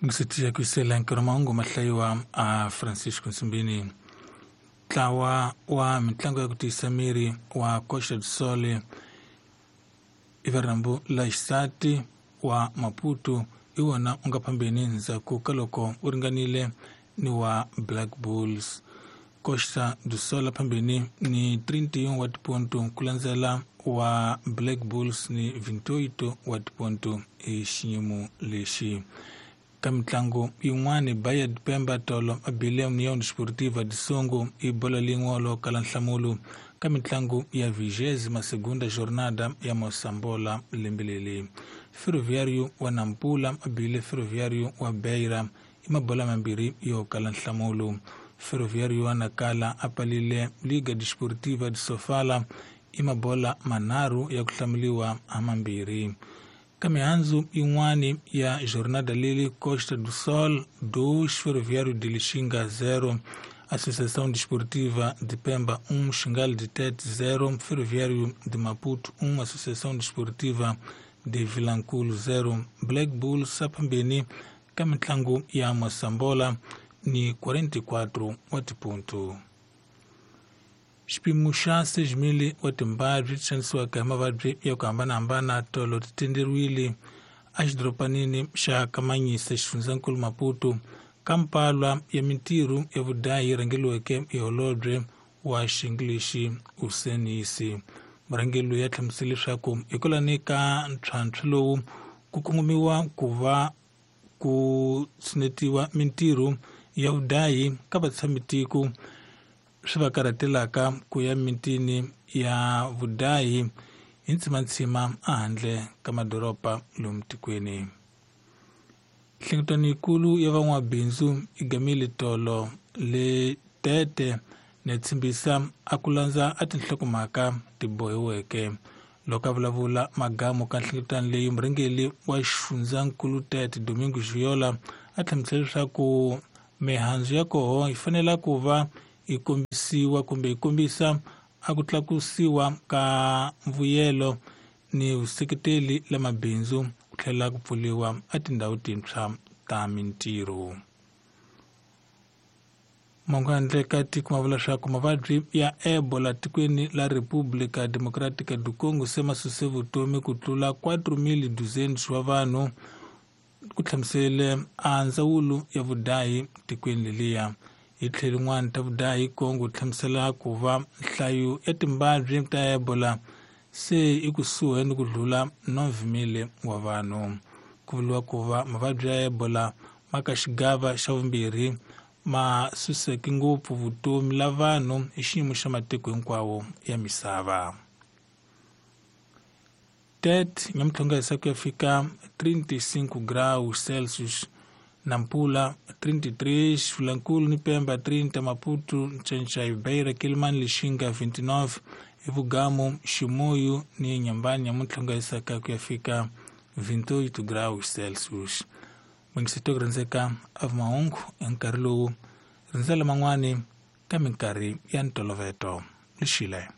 Ngisitiya kuisela nkarhi mahungu mahlayiwa a Francisco Nsimbini. Ntlawa wa mitlangu ya ku tiyisa miri wa Costa do Sol i la xisati wa Maputo hi wona u nga phambeni ndzhaku ka loko u ringanile ni wa Black Bulls. Costa do Sol phambeni ni 31 wa tiponto ku landzela wa Black Bulls ni 28 wa tiponto hi xiyimo lexi. Ka mitlangu yin'wani Bahia de Pemba tolo a bile União Desportiva de Songo i bola lin'we lo kala nhlamulo ka mitlangu ya 22ª jornada ya Mosambola lembe leri. Ferroviário wa Nampula a bile Ferroviário wa Beira i mabola mambirhi yo kala nhlamulo. Ferroviário wa Nacala a palile Liga Desportiva de Sofala i mabola manharhu ya ku hlamuriwa ha mambirhi. Ka mihandzu yin'wani ya jornada leli Costa do Sol 2 Ferroviário de Lixinga 0 Associação Desportiva de Pemba 1 Xingal de Tete 0 Ferroviário de Maputo 1 Associação Desportiva de Vilanculo 0 Black Bulls aphambeni ka mitlangu ya Mosambola ni 44 wa tiponto. Xipimo xa 6,000 wa timbabyi ti xanisiwaka hi mavabyi ya ku hambanahambana tolo ti tenderiwile exidorobanini xa Kamanyisa xifundzankulu Maputo ka mpalwa ya mintirho ya vudayi yi rhangeriweke hi holobye wa Xingilixi Usenisi. Murhangeri loyi a hlamusele leswaku hikwalani ka ntlhantlho lowu ku kongomiwa ku va ku tshinetiwa mintirho ya vudayi ka vatshamitiko swi va karhatelaka ku ya mitini ya vudayi hi ntsimantsima ehandle ka madoroba lomu tikweni. Nhlengeletano yikulu ya van'wabindzu i gamile tolo le Tete ne tshimbisa a ku landza a tinhlokomhaka ti bohiweke. Loko a vulavula magamu ka nhlengeletano leyi murhangeri wa xifundzankulu Tete Domingo Giola a hlamusela leswaku mihandzu ya koho yi fanele ku va yi kombisiwa kumbe yi kombisa a ku tlakusiwa ka mbuyelo ni vuseketeli la mabindzu ku tlhela ku pfuriwa a tindhawu tintshwa ta mintirho. Mongo handle ka tiko ma vula leswaku mavabyi ya Ebola tikweni la República Democrática do Congo se ma suse vutomi ku tlula 4,200 wa vanhu ku hlamusele a ndzawulo ya vudayi tikweni leliya. Hi tlhelo rin'wana ta vudayi Congo hlamusela ku va nhlayo ya timbabyi ta Ebola se i kusuhi ni ku dlula 9,000 wa vanhu. Ku vuriwa ku va mavabyi ya Ebola ma ka xigava xa vumbirhi ma suseke ngopfu vutomi la vanhu hi xiyimo xa matiko hinkwawo ya misava. Tete nyamutlhonga hisa ku ya fika 35 graus Celsius, Nampula 33, Vilankulo ni Pemba 30, Maputo, Nchanchay, Beira, Quelimane, Lixinga 29, Ivugamu, Chimoio ni Inhambane nyamutlhonga hisaka ku ya fika 28 graus Celsius. Mwingiseti ku rhandzeka a mahungu hi nkarhi lowu rindzela man'wani ka minkarhi ya ntolovelo. Lixile.